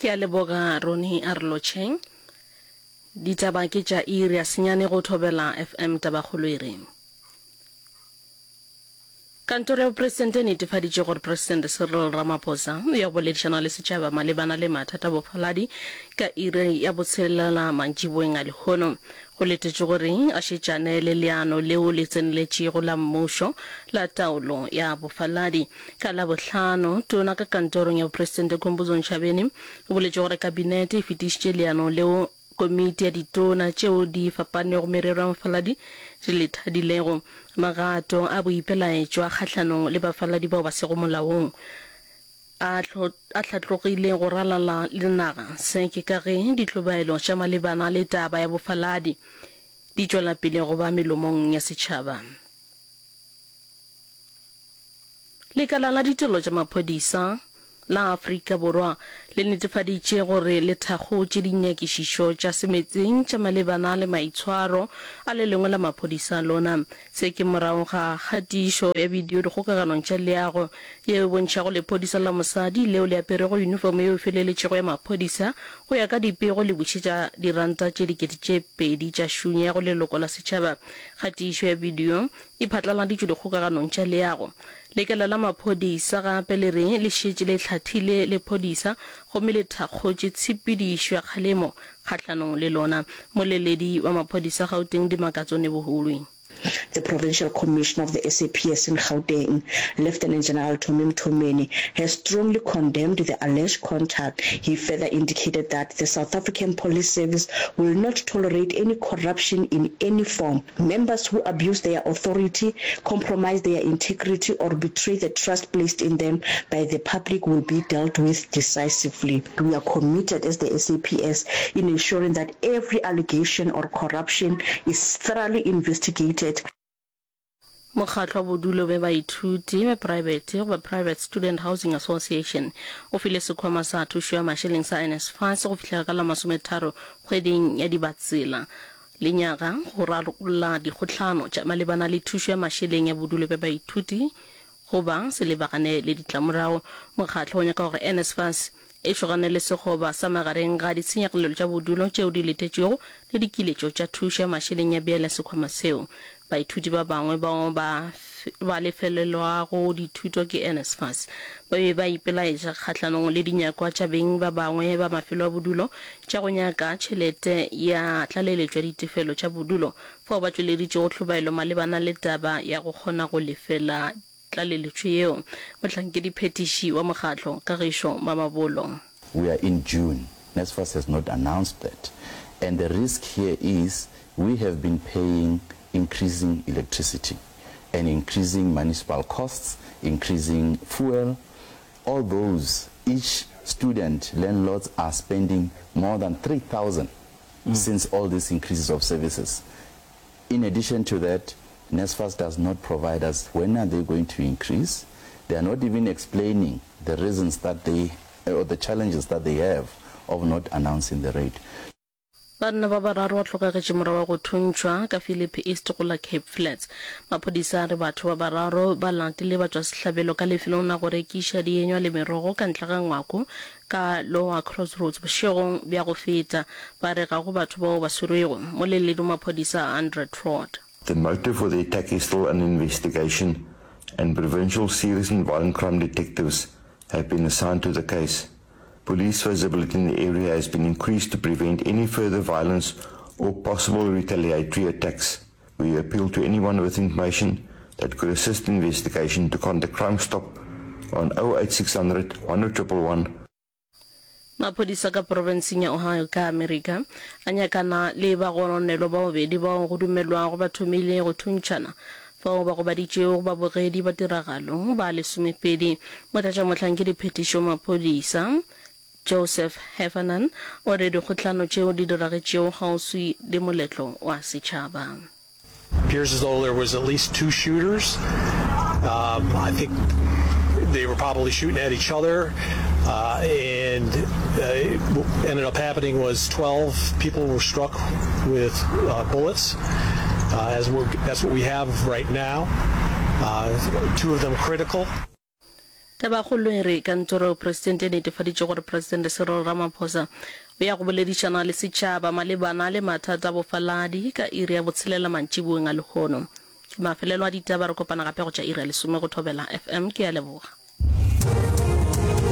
Ke a leboga Roni a re lotšheng. Ditaba ke tša iri ya senyane go Thobela FM Tabakgolo e re. Kantoro ya bopresidente e netefaditše gore Presidente Cyril Ramaphosa o ya go boledišana le setšhaba malebana le mathata a bofaladi ka iri ya botshelela mantšiboeng a lehono. Go letetšwe gore a šetšane le leano leo le tseneletšego la mmušo la taolo ya bofaladi. Ka Labohlano, Tona ka kantorong ya bopresidente Khumbudzo Ntshavheni o boletše gore kabinete e fetišitše leano leo Komiti ya ditona tšeo di fapanego merero ya mafaladi di le thadilego. Magato a boipelaetšo a kgahlanong le bafaladi bao ba sego molaong a a hlatlogile go ralala le naga. Se ke ka ge ditlobaelo tša malebana le taba ya bofaladi di tšwela pele go ba melomong ya setšhaba. Lekala la Ditirelo tša Maphodisa la Afrika Borwa le netefaditše gore le thakgotše dinyakišišo tša semetseng tša malebana le maitshwaro a le lengwe la maphodisa a lona. Se ke morago ga kgatišo ya bidio dikgokaganong tša leago yeo e bontšhago lephodisa la mosadi leo le aperego yunifomo yeo e feleletšego ya maphodisa go ya ka dipego le bušetša diranta tše 2000 tša šunya go leloko la setšhaba. Kgatišo ya bidio e phatlaladitšwe dikgokaganong tša leago. Lekala la maphodisa gape le re le šetše le hlathile lephodisa gomme le thakgotše tshepedišo ya kgalemo kgahlanong le lona. Moleledi wa maphodisa Gauteng Dimakatso Nebuhulwi. The Provincial Commissioner of the SAPS in Gauteng, Lieutenant General Tommy Mthomeni, has strongly condemned the alleged contact. He further indicated that the South African Police Service will not tolerate any corruption in any form. Members who abuse their authority, compromise their integrity or betray the trust placed in them by the public will be dealt with decisively. We are committed as the SAPS in ensuring that every allegation or corruption is thoroughly investigated. Mokgatlo wa Bodulo bja Baithuti bja Praebete goba Private Student Housing Association o file sekhwama sa thušo ya mašeleng sa NSFAS go fihlela ka la masometharo kgweding ya Dibatsela lenyaga go rarolla dikgohlano tša malebana le thušo ya mašeleng ya bodulo bja baithuti goba se lebagane le ditlamorago. Mokgatlo o nyaka gore NSFAS e šogane le sekgoba sa magareng ga ditshenyagalelo tša bodulo tšeo di letetšwego le dikiletšo tša thušo ya mašeleng ya bjale sekhwama seo. Baithuti ba bangwe bao ba ba lefelelwago dithuto ke NSFAS ba be ba ipelaetša kgahlanong le dinyakwa tša beng ba bangwe ba mafelo a bodulo tša go nyaka tšhelete ya tlaleletšo ya ditefelo tša bodulo fao ba tšweleditšego tlhobaelo malebana le taba ya go kgona go lefela tlaleletšo yeo. Mohlankediphethiši wa mokgatlo, Kagišo Mamabolo. We are in June, NSFAS has not announced that and the risk here is we have been paying increasing electricity and increasing municipal costs, increasing fuel, all those, each student, landlords are spending more than 3,000 since all these increases of services. In addition to that, NSFAS does not provide us when are they going to increase. They are not even explaining the reasons that they, or the challenges that they have of not announcing the rate. Banna ba bararo ba hlokagetše morago ga go thuntšhwa ka Philippi East go la Cape Flats. Maphodisa a re batho ba bararo ba latile batšwasehlabelo ka lefelong la go rekiša dienywa le merogo ka ntle ga ngwako ka Lower Crossroads bošegong bja go feta. Ba re ga go batho bao ba swerwego. Moleledi wa maphodisa Andre Trott. The motive for the attack is still under investigation and provincial serious and violent crime detectives have been assigned to the case. Police visibility in the area has been increased to prevent any further violence or possible retaliatory attacks. We appeal to anyone with information that could assist the investigation to contact Crime Stop on 08600 10111. Maphodisa ka profenseng ya Ohio ka Amerika a nyakana le bagononelwa ba bobedi bao go dumelwago ba thomile go thuntšhana fao ba gobaditšego babogedi ba tiragalo ba lesomepedi. Motlatšamohlankediphetiši wa maphodisa Joseph Heffernan o re dikgohlano tšeo di diragetšego kgauswi le moletlo wa setšhaba. Appears as though there was at least two shooters. Um, I think they were probably shooting at each other. Uh, and uh, what ended up happening was 12 people were struck with uh, bullets. Uh, as we're, that's what we have right now. Uh, two of them critical. Tabakgolo e re kantoro ya bopresidente e netefaditše gore Presidente Cyril Ramaphosa o ya go boledišana le setšhaba malebana le mathata a bofaladi ka iri ya botshelela mantšiboeng a lehono. Ke mafelelo a ditaba, re kopana gape go tša iri ya lesome go Thobela FM. Ke a leboga.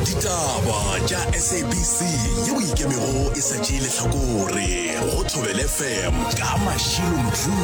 Ditaba tša SABC yeo e ikemego e sa tšee lehlakore go Thobela FM ka Mashilo Mdluli.